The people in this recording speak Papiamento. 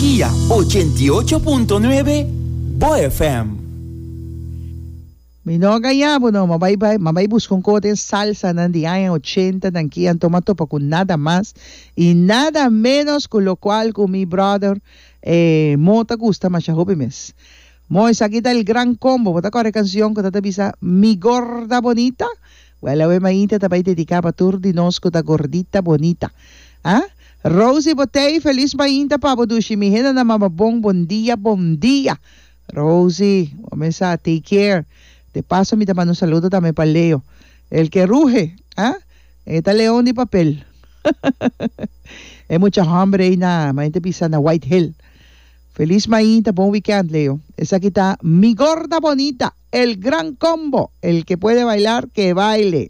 Guia 88.9 Bo FM. Mi no a gaña bo no, m'a bai bai, m'a bai buska un koe den salsanan di aña ochenta nan ki anto m'a topa ku nada mas i nada menos ku lokual ku mi brother eh Mo ta gusta masha hopi mes. Mo esaki ta el gran combo, bo ta kòrda e kansion ku ta ta bisa Mi gorda bonita? Wèl awe mainta ta bai dediká pa tur di nos ku ta gordita bonita. Ah? Rosie Botey felis mainta pa bo dushi mi hende na mama bon bon dia bon dia. Rosie, bo mesa take care. De paso mi ta manda un saludo tambe pa Leo. El que ruge, ah? E ta leon di papel. E mucha homber ei na, mainta bisa na White Hill. Felis mainta, bon weekend Leo. Esaki ta Mi Gorda Bonita, El Gran Combo, el que puede bailar que baile.